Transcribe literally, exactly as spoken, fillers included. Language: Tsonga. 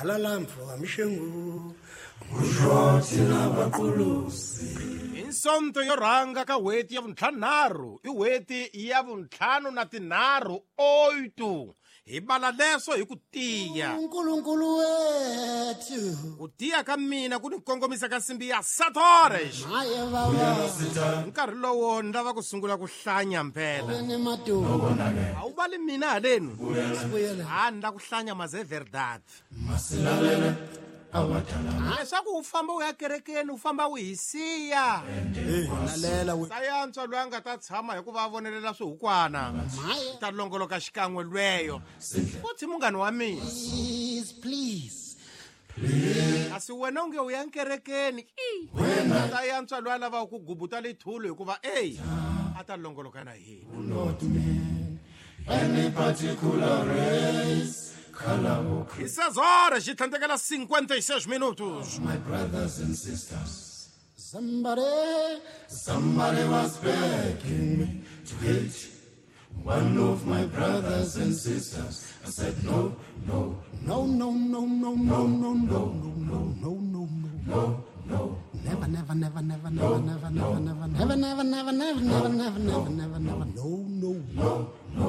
Halala mfoka Mshengu. Hi Sonto yo rhanga ka n'hweti ya vuntlhanunharhu i n'hweti ya vuntlhanu na tinharhu oito hi bala leswo hi ku tiya. uNkulunkulu wethu. Ku tiya ka mina ku ni kongomisa ka nsimbi ya satores. Maye baba. Hi nkarhi lowo ni lava ku sungula ku hlanya mpela. Ni maduku. A wu vali mina halenu. Sibuyele. Ha ni la ku hlanya maze verdade. Leswaku u famba u ya kerekeni u famba u hi siya. Lalela we. Sayantswa loyi a nga ta tshama hikuva a vonelela swihukwana. Maye. Ta longoloka xikan'we lweyo. Futhi munghana wa mina. Please, please. Kasi wena u nge u ya nkerekeni. Sayantswa loyi a lavaka ku gubuta lethulu hikuva ey a ta longoloka na hina. Any particular race, color or creed. Hi seis horas e tlhandlekela cinquenta e seis minutos. My brothers and sisters, Somebody, somebody was begging me to hate one of my brothers and sisters. I said no, no, no, no, no, no, no, no, no, no, no, no, no, no. no, no. Never, never, never, never, never, never, never, never, never, never, never, never, never, never, never, never, never, no, no, No, no.